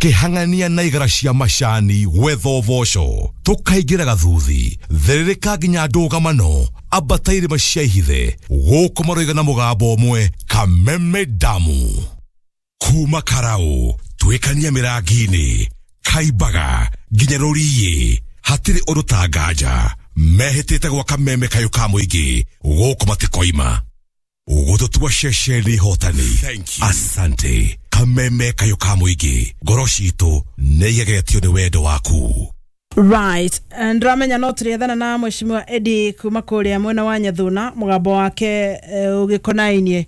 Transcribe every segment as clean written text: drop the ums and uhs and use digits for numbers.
Tũkĩhang'ania na igara cia macani gwetha ũboco, tũkaingĩra gathuthi, therereka nginya ndũgamano, ambata irĩma cia ihithe, gũkũ maroiga na mũgambo ũmwe, Kameme Damu. Kuma Karau, twĩkania mĩrangi-inĩ, Kaimbaga, nginya Rũriĩ, hatirĩ ũndũ ta nganja, mehĩtĩte gwa Kameme kayũ ka mũingĩ, gũkũ matikoima. Gũtũtua ceceni hotani. Asante. Kameme kayũ ka mũingĩ, ngoro citũ nĩ igegetio nĩ wendo waku. Right, ndĩramenya no tũrĩethana na mheshimiwa Eddie kuma kũrĩa mwena wa Nyathuna, mũgambo wake ũgĩkonainie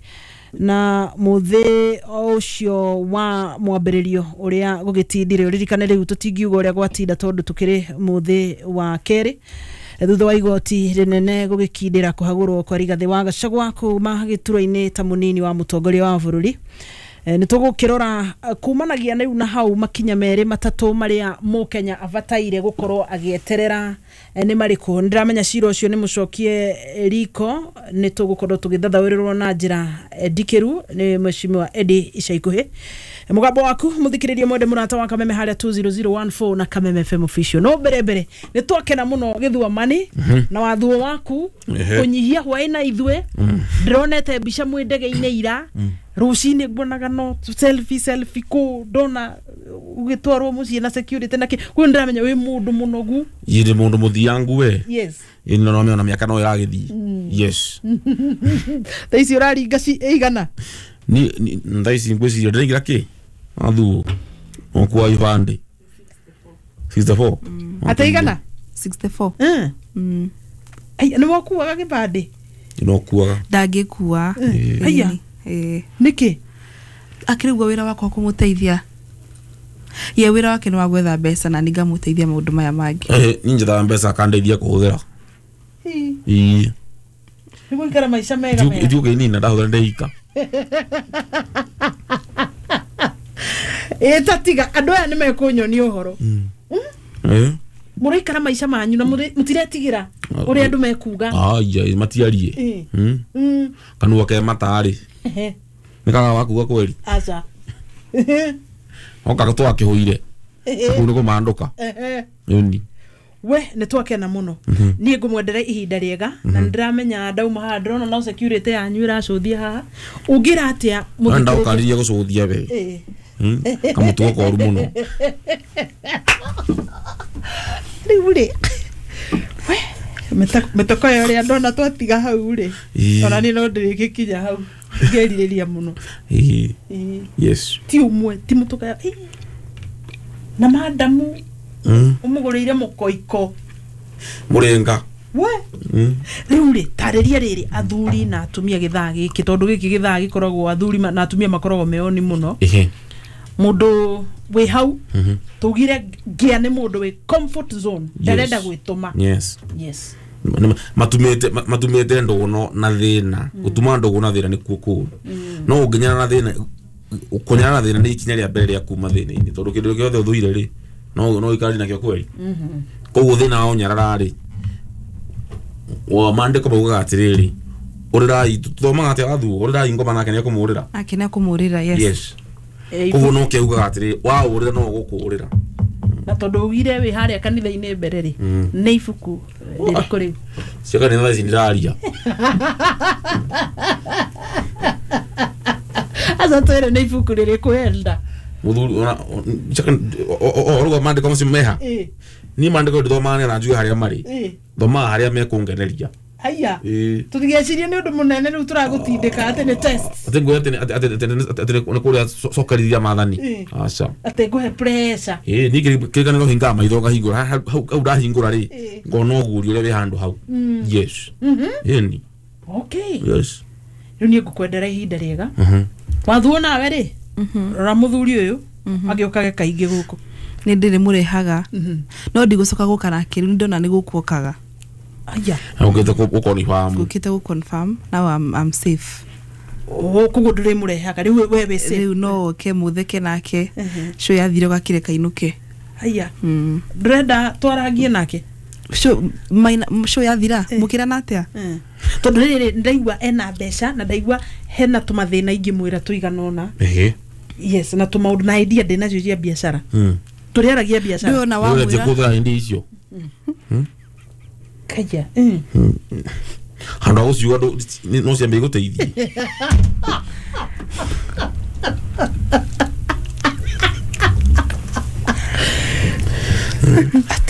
na mũthĩ ũcio wa mwambĩrĩrio ũrĩa gũgĩtindire. Ũririkane rĩu tũtingiuga ũrĩa gwatinda tondũ tũkĩrĩ mũthĩ wa kerĩ thutha wa igoti rĩnene gũgĩkindĩra kũhagũrwo kwa Rigathĩ wa Gachagua kuma gĩturwa-inĩ ta mũnini wa mũtongoria wa bũrũri. Nĩ tũgũkĩrora kumanagia rĩu na hau makinya merĩ matatũ marĩa mũkenya abataire gũkorwo agĩeterera nĩ marĩkũ. Nĩndĩramenya cira ũcio nĩ mũcokie riko, nĩ tũgũkorwo tũgĩthathaũrĩrwo na njĩra ndikĩru nĩ mheshimiwa Eddie ica ikuhĩ. Mũgambo waku mũthikĩrĩrie mwende mũrata wa Kameme harĩa 20014 na Kameme FM official. No mbere mbere nĩ twakena mũno gĩthua mani na wathuo waku kũnyihia hwaĩ na ithuĩ. Ndĩronete mbica mwĩ ndege-inĩ ira rũcinĩ nguonaga no selfie selfie kũ ndona ũgĩtwarwo mũciĩ na security na kĩ. Koguo nĩndĩramenya wĩ mũndũ mũnogu. Ĩ mũndũ mũthiangu we. Yes. Ĩ no no mĩaka no ĩragĩthiĩ. Yes. Thaa ici ũraringa ĩigana? Ni thaa ici ngwĩciria ndĩraingĩra kĩ? Athuo. Okua ibandĩ. 64. Ate igana? 64. Ai, nĩ wakuaga gĩbandĩ? No kuaga. Ndangĩkua. Aya. Nĩkĩ? Akĩrĩ guo wĩra wakwa kũmũteithia. Ye wĩra wake nĩ wa gwetha mbeca na nĩngamũteithia maũndũ maya mangĩ. Niĩ njethaga mbeca akandeithia kũhũthĩra. Ĩĩ. Nĩ gũikara maica mega mega. Ithuĩ ũkĩnina ndahũthĩra ndeika. Ĩ tatiga andũ aya nĩ mekũnyonia ũhoro. Mũraikara maica manyu na mũtiretigĩra ũrĩa andũ mekuga. Aya matiarie. Kanua ke matarĩ. Nĩ kaga wakuga kweri. Aca. Oka twakĩhũire. Kũu nĩ kũmandũka. Ĩni. We nĩ twakena mũno. Niĩ ngũmwendera ihinda rĩega na nĩndĩramenya ndauma haha ndĩrona no security yanyu ĩracũthia haha. Ũngĩra atĩa mũthikĩrĩria? Ndaũkaririe gũcũthia we. Kamũtugo koru mũno. Rĩu rĩ we mĩtoko ĩyo ũrĩa ndona twatiga hau rĩ ona niĩ no ndĩrĩgĩkinya hau ngerirĩria mũno. Yes. Ti ũmwe ti mũtũka na madamu ũmũgũrĩire mũkoiko mũrĩnga we. Rĩu rĩ tarĩria rĩrĩ athuri na atumia gĩthaa gĩkĩ tondũ gĩkĩ gĩthaa gĩkoragwo athuri na atumia makoragwo meoni mũno. Mũndũ wĩ hau tugire ngĩa nĩ mũndũ wĩ comfort zone ndarenda gwĩtũma. Yes. Yes. Matumĩte ndũgũ na thĩna. Gũtuma ndũgũ na thĩna nĩkuo kũũru. No ũngĩnyana na thĩna, kũnyana na thĩna nĩ ikinya rĩa mbere rĩa kuma thĩna-inĩ tondũ kĩndũ gĩothe ũthũire rĩ no no ikari nakĩo kweri. Koguo thĩna wa ũnyarara rĩ wa maandĩko maugaga atĩrĩrĩ ũrĩrai tũthomaga atĩa wathuo ũrĩrai ngoma nake nĩekũmũrĩra. Nake nĩekũmũrĩra. Yes. Yes. Koguo no kĩaugaga atĩrĩrĩ waũrĩra no ũgũkũrĩra. Na tondũ ugire wĩ harĩa kanitha-inĩ mbere rĩ nĩ ibuku rĩrĩkũ rĩu? Cia kanitha thaa ici ndĩraria. Aca twĩre nĩ ibuku rĩrĩkũ enda. Mũthuri ona oruga maandĩko macio meha. Niĩ maandĩko ndĩthomaga nĩgetha njuge harĩa marĩ. Thomaga harĩa mekũngeneria. Aya. Tũtigecirie nĩ ũndũ mũnene rĩu tũragũtindĩka atĩ nĩ test. Atĩ nguoya atĩ nĩ kũrĩa cokerithia maathani. Aca. Atĩ ngũhe pressure. Ĩĩ niĩ kĩrĩkanĩro hingaga maitho ngahingũra hau ndahingũra rĩ ngona ũguũrio ũrĩa wĩ handũ hau. Yes. Ĩni. Okay. Yes. Rĩu niĩ ngũkwendera ihinda rĩega. Wathuo nawe rĩ rora mũthuri ũyũ agĩũkage kaingĩ gũkũ. Nĩ ndĩrĩ mũrehaga. No ndigũcoka gũka nake rĩu nĩndona nĩ gũkũ okaga. Aya. Ũkĩte gũkonfirm. Ũkĩte gũconfirm. Now I'm safe. Oh, koguo ndũrĩ mũrehaga rĩu we wĩ safe. Rĩu no ũke mũtheke nake. Show yathire ũgakĩreka inũke. Aya. Ndũrenda twarangie nake? Show yathira mũkĩrana atĩa? Tondũ rĩrĩ ndaigua ena mbeca na ndaigua hena tũmathĩna ingĩmwĩra tũigana ũna. Yes, na tũmaũndũ na idea ndĩ nacio cia biacara. Tũrĩaragia biacara. Ndũĩ ona Ũrĩa wamwĩra kũthĩra hindi icio. Kaya. Handũ ha gũciuga no ciambie gũteithie.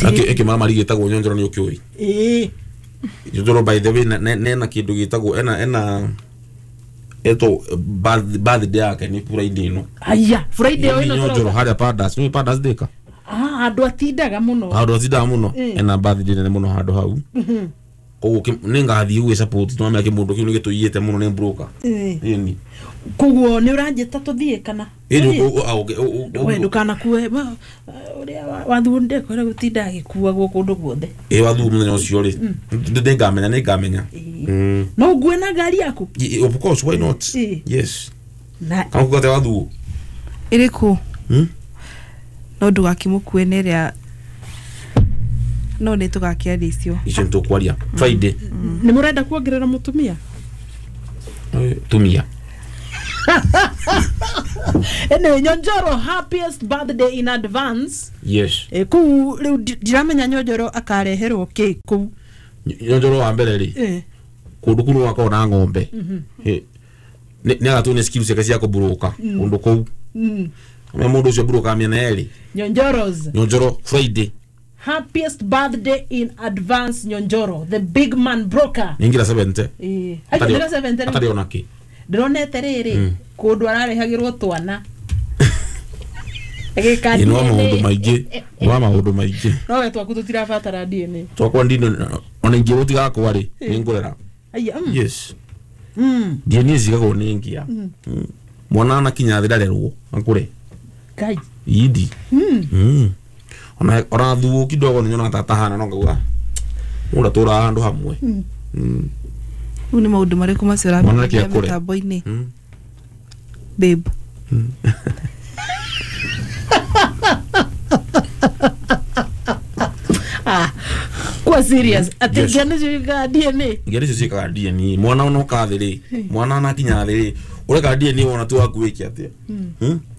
Ĩkĩmaramari gĩtagwo nyonjoro nĩ ũkĩũĩ. Ĩĩ. Nyonjoro by the way nena kĩndũ gĩtagwo ena eto birthday yake nĩ Friday ĩno. Aya, Friday ĩno Nyonjoro harĩa Padas, nĩ Padas dĩka. Ah, andũ atindaga mũno. Handũ atindaga mũno. Ena birthday nene mũno handũ hau. Koguo nĩ ngathiĩ gwĩ support twamenya kĩmũndũ kĩu nĩ gĩtũiyĩte mũno nĩ broker. Ĩni. Koguo nĩ ũranjĩta tũthiĩ kana? Ĩni We ndũkanakue ũrĩa wathuo ndekwĩra gũtinda agĩkuagwo kũndũ guothe. Ĩ wathuo mũthenya ũcio rĩ. Nĩngamenya nĩngamenya. No ũngue na ngari yaku? Of course, why not? Yes. Na kana kugate wathuo. Ĩrĩkũ? No ndũgakĩmũkue nĩ ĩrĩa no nĩ tũgakĩaria icio. Icio nĩ tũkwaria Friday. Nĩ mũrenda kuongerera mũtumia? Tumia. Anyway, Nyonjoro, happiest birthday in advance. Yes. Kũu rĩu ndiramenya Nyonjoro akareherwo kĩ kũu. Nyonjoro wa mbere rĩ. Kũndũ kũu gwakorwo na ng'ombe. Nĩ agatũ nĩ skills ciake cia kũburuka kũndũ kũu. Na mũndũ ũcio buruka mĩena yerĩ. Nyonjoros. Nyonjoro Friday. Happiest birthday in advance Nyonjoro, the big man broker. Ningira 70. Aingĩra 70. Atarĩ ona kĩ. Ndĩronete rĩrĩ kũndũ ararehagĩrwo twana. Agĩka DNA. Maũndũ maingĩ. Nĩ maũndũ maingĩ. No we twaku tũtirabatara DNA. Twakwa ndino ona ingĩ gũtigakwa rĩ nĩ ngũrera. Aya. Yes. DNA cigagwo nĩ ngia. Mwana anakinya thĩ ndarerwo akũre. Kai. Idi. Ona thuo kidogo nĩ nyonaga tata no ngauga mũndũ atũraga handũ hamwe. Rĩu nĩ maũndũ marĩkũ macio ũramenya mĩtambo-inĩ? Babe. Kwa serious. Ati ngĩana ciĩkaga DNA. Ngĩana icio ciĩkaga DNA. Mwana ona ũka thĩ rĩ, mwana anakinya thĩ rĩ, ũreka DNA wona tu waku wĩke atĩa?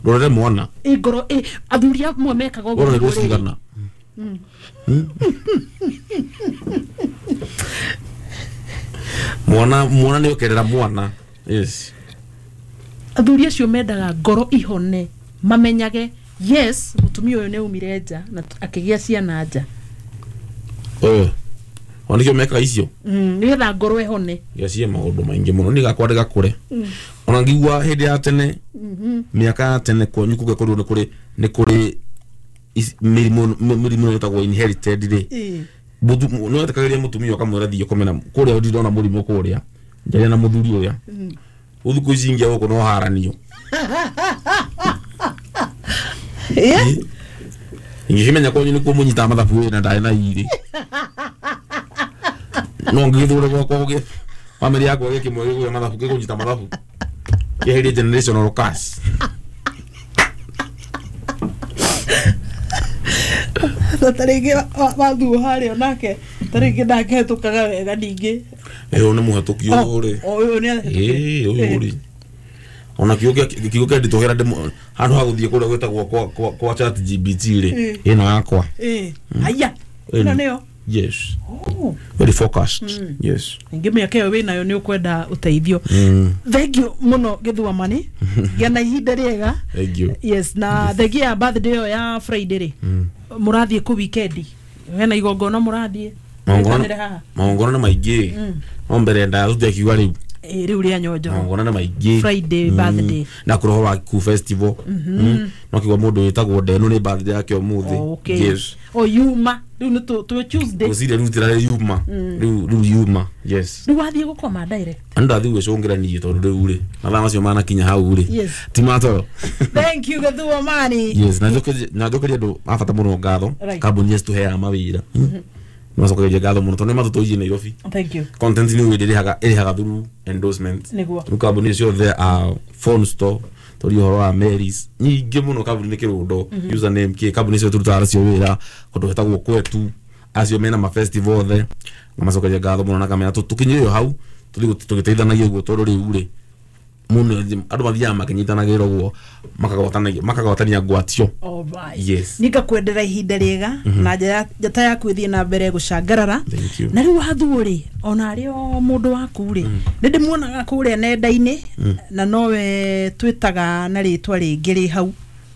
Rorere mwana. Ngoro athuri amwe mekaga ũguo. Rorere cigana. Mwana nĩ ũkerera mwana. Yes. Athuri acio mendaga ngoro ihone mamenyage yes mũtumia ũyũ nĩ aumire nja na akĩgĩa ciana nja. Ona nĩkĩo mekaga icio. Nĩgetha ngoro ĩhone. Ngeciria maũndũ maingĩ mũno nĩ gakwa ndĩgakũre. Ona ngigua hĩndĩ ya tene mĩaka ya tene kwanyu kũngĩkorirwo nĩ kũrĩ mĩrimũ ĩtagwo inherited rĩ. No wetĩkagĩria mũtumia ũkamwĩra thiĩ ũkome na kũrĩa ndĩrona mũrimũ kũrĩa njaria na mũthuri ũrĩa. Thikũ ici ingĩ gũkũ no haranio. Ingĩkĩmenya kwanyu nĩkuo mũnyitaga mathabu wĩna ndarĩ na irĩ. No ngĩgĩthũre gwakwa gũgĩ bamĩrĩ yakwa gĩkĩmwe gĩgũya mathabu gĩkũnyita mathabu kĩeherie generational curse. Ta rĩngĩ wathuo harĩa onake ta rĩngĩ ndakĩhetũkaga wega ningĩ. Ũyũ nĩ mũhetũki ũyũ rĩ. Ũyũ nĩ ahĩtũkire. Ũyũ rĩ. Ona kiugo kĩa nditũhĩra handũ ha gũthiĩ kũrĩa gwĩtagwo kwa ChatGPT rĩ ĩno yakwa. Aya. Ĩno nĩyo. Yes. Very focused. Yes. Ningĩ mĩaka ĩyo wĩnayo nĩ ũkwenda ũteithio. Thank you mũno Gĩthuamani. Gĩa na ihinda rĩega. Thank you. Yes, na thengia ya birthday ĩyo ya Friday rĩ. Mũrathiĩ kũ weekend? Hena igongona mũrathiĩ? Magongona nĩ maingĩ. No mbere ndathutia kiuga rĩu. Rĩu rĩa Nyonjoro. Magongona nĩ maingĩ. Friday birthday. Na kũroho wa Kikuyu festival. No kiuga mũndũ wĩtagwo Ndenu nĩ birthday yake ũmũthĩ. Yes. O yuma. Rĩu nĩ tũ Tuesday. Gũcire rĩu tirarĩ yuma. Rĩu yuma. Yes. Rĩu wathiĩ gũkoma direct. Andũ ndathiĩ gwĩcũngĩra niĩ tondũ rĩu rĩ mathaa macio manakinya hau rĩ. Ti matoro. Thank you Gĩthuamani. Yes, na njokerie andũ a bata mũno ngatho. Kambuni ici tũheaga mawĩra. Macokerie ngatho mũno tondũ nĩ matũtũirie Nairobi. Thank you. Content nĩ ĩrĩhaga through endorsement. Nĩguo. Rĩu kambuni ciothe phone store tũri ũhoro wa Marys nyingĩ mũno kambuni nĩ kĩrũndo username kĩ kambuni ciothe tũrutaga nacio wĩra kũndũ gwĩtagwo kwetu acio mena ma festival othe na macokerie ngatho mũno na kamera tũkinyĩrio hau tũthiĩ tũgĩteithanagia ũguo tondũ rĩu rĩ Mundu andu mathiaga makinyitanagĩra ũguo makagwatania ngwatio. Alright. Yes. Nikakwendera ihinda rĩega na njata yaku ĩthiĩ na mbere gũcangarara. Thank you. Na rĩu wathuo rĩ ona arĩ o mũndũ waku rĩ nĩ ndĩmuonaga kũrĩa nenda-inĩ na nowe twĩtaga na rĩtwa rĩngĩ rĩ hau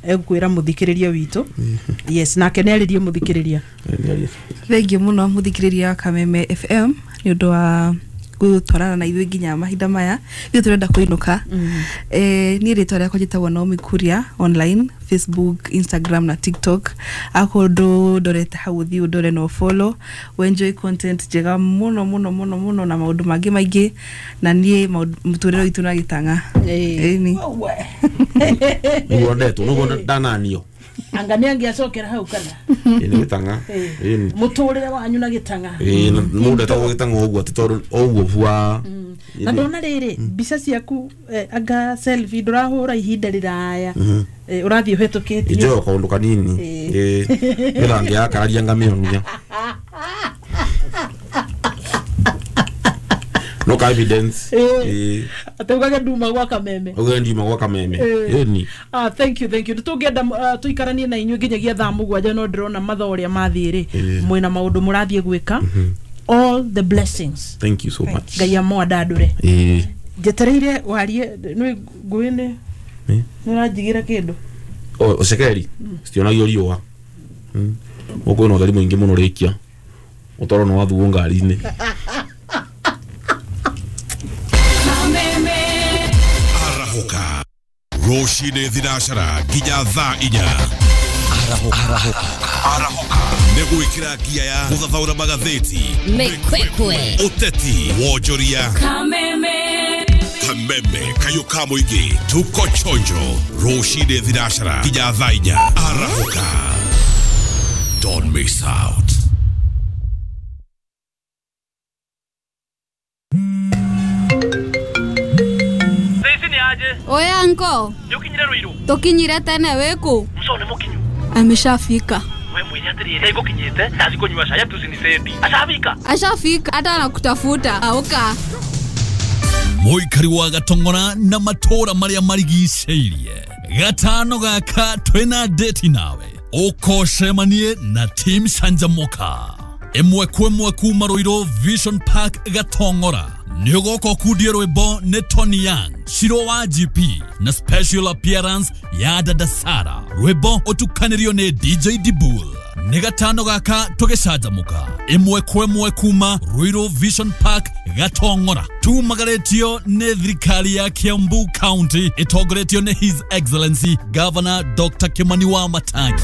egũkwĩra mũthikĩrĩria witũ. Yes, nake nĩarĩrie mũthikĩrĩria. Thengiũ mũno mũthikĩrĩria wa Kameme FM nĩ ũndũ wa gũtwarana na ithuĩ nginya mahinda maya ithuĩ tũrenda kũinũka. Niĩ rĩtwa rĩakwa njĩtagwo Naomi Kuria online Facebook, Instagram na TikTok. Akorwo ndũndorete hau ũthiĩ ũndore na ũfollow, enjoy content njega mũno mũno mũno mũno na maũndũ mangĩ maingĩ na niĩ mũtũrĩre witũ na gĩtang'a. Ĩni. Nĩguo ndetwo nĩguo ndananio. Anga nĩ angĩacokera hau kana Ĩĩ nĩ gĩtang'a. Ĩĩ. Mũtũrĩre wanyu na gĩtang'a. Ĩĩ mũndũ etagwo gĩtang'a ũguo atĩ tondũ ũguo bua. Na ndona rĩrĩ mbica ciaku anga selfie ndũrahũra ihinda rĩraya, ũrathiĩ ũhetũkĩtie. Injoyo kaũndũ kanini. Ĩĩ nĩgetha ngĩakararia ngamĩonia. No ka evidence. Ĩĩ. Atĩ ugage nduma gwa Kameme. Uge ndiuma gwa Kameme. Ĩni. Thank you, thank you. Tũngĩenda tũikaranie na inyuĩ nginyagia thaa 7 no ndĩrona mathaa ũrĩa mathiĩ rĩ mwĩna maũndũ mũrathiĩ gwĩka. All the blessings. Thank you so much. Ngai amwandandũre. Ĩĩ. Njetereire warie nĩ ngũĩ nĩ ũranjigĩra kĩndũ. Ũcekeri citionagio riũa. Gũkũ kwĩna ũtheri mũingĩ mũno rĩkia ũtwarwo nĩ wathuo ngari-inĩ. Arahũka rũcinĩ thinacara nginya thaa 4. Arahũka nĩ gwĩkĩra ngia ya gũthathaũra magathĩti, Mĩkwekwe, ũteti, wonjoria, Kameme, Kameme kayũ ka mũingĩ, tuko chonjo rũcinĩ thinacara nginya thaa 4. Arahũka, don't miss out. Oya anko, Nĩũkinyire Ruiru? Tũkinyire tene wĩkũ? Mco nĩ mũkinyu. Ameshafika. We mwĩre atĩrĩrĩ, nĩngũkinyĩte ndathi kũnyua cai ati usinisendi. Ashafika. Ashafika hata anakutafuta. Auka. Mũikari wa Gatong'ora na matũra marĩa marigicĩirie gatano gaka twĩna date nawe ũkocemanie na team Canjamũka ĩmwe kwa ĩmwe kuma Ruiru Vision Park Gatong'ora. Nĩ ũgoka ũkundie rwĩmbo nĩ Tony Young, Shiro wa GP na special appearance ya Dada Sara. Rwĩmbo ũtukanĩrio nĩ DJ Dibul. Nĩ gatano gaka tũgĩcanjamũka ĩmwe kwa ĩmwe kuma Ruiru Vision Park Gatong'ora. Tumagarĩtio nĩ thirikari ya Kiambu County ĩtongoretio nĩ His Excellency Governor Dr. Kimani wa Matangi.